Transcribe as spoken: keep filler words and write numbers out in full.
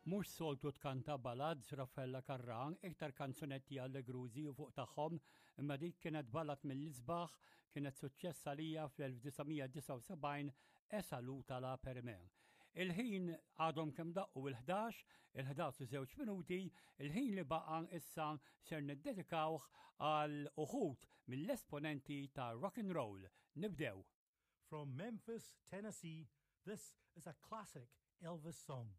Mhux soltu tkanta ballads Raffaella Carrà, iktar kanzunetti allegrużi u fuq tagħhom, imma dik kienet ballad mill-isbaħ, kienet suċċess għalija fl-elf disa' mija disgħa u sebgħin, E salutala per me. Il-ħin għadhom kemm daqqu il-ħdax, il-ħdax u żewġ minuti, il-ħin li baqa issa ser niddedikawh għal uħud mill-esponenti ta' rock and roll. Nibdew. From Memphis, Tennessee, this is a classic Elvis song.